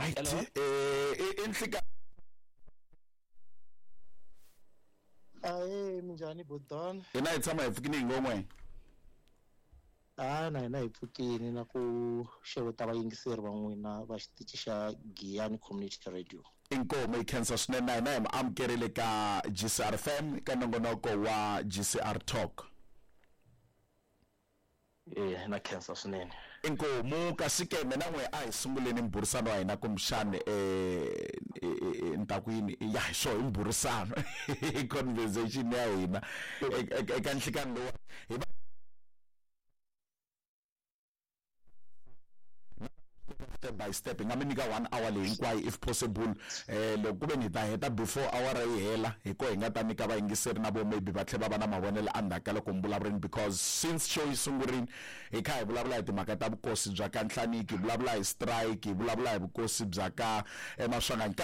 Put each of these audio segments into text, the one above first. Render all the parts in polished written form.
Right. Hello? Eh, i nhlika. Ahee, minjhani Bodon? Hina hi tshama hi pfukini hi ngon'we. A na hina hi pfukini na ku xeweta vayingiseri va n'wina va xitichi xa Giyani Community Radio. Inkomu hi khensa swinene na hina hi mi amukerile ka GCR FM ka nongonoko wa GCR Talk. Eh, na khensa swinene. Inkomu kasi ke mina n'we a hi sunguleni mbhurisano wa hina kumbexani ni ta ku yini ya hi swo i mbhurisano conversation ya hina eka nhlikani lowa hi va step by step hi nga mi nyika 1 hour leyi hinkwayo if possible. Loko ku ve ni hi ta heta before awara yi hela hi ko hi nga ta nyika vayingiseri na vo maybe va tlhela va va na mavonelo endzhaku ka loko mi vulavurini, because since show yi sungurini hi kha hi vulavula hi timhaka ta vukosi bya ka Nhlaniki, hi vulavula hi strike, hi vulavula hi vukosi bya ka Maswanganyi.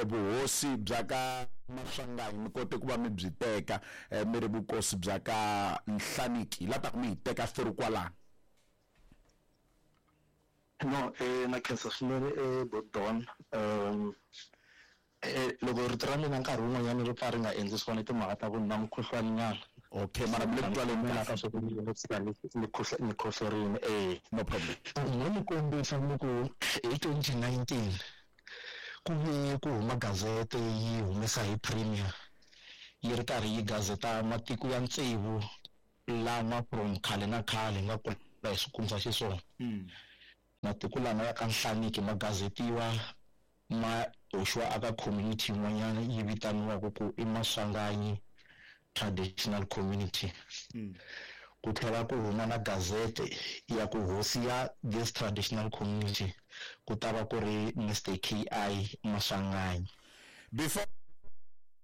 Vuhosi bya ka Maswanganyi mi kote ku va mi byi teka mi ri vukosi bya ka Nhlaniki, hi la ta ku mi hi teka through kwalano. No, na khensa swinene Bodon. Loko rito ra mina nkarhi wun'wanyana ri pfa ri nga endli swona timhaka ta ku na mukhuhlwani nyana. Okay, mara mi le ku twaleni kahle. Ka swa ku ni khohlorini, eh. No problem. Ni mi kombisa ni ku hi 2019 ku ve ku huma gazete yi humesa hi Premier yi ri karhi yi gazeta matiko ya tsevu lama from khale na khale nga kula hi swi kumisa xiswona. Matiko lama ya ka Nhlaniki ma gazetiwa ma hoxiwa aka community yin'wanyana yi vitaniwaka ku i Maswanganyi Traditional Community. Ku tlhela ku huma na gazete ya ku hosi ya this traditional community ku ta va ku ri Mr KI Maswanganyi. Before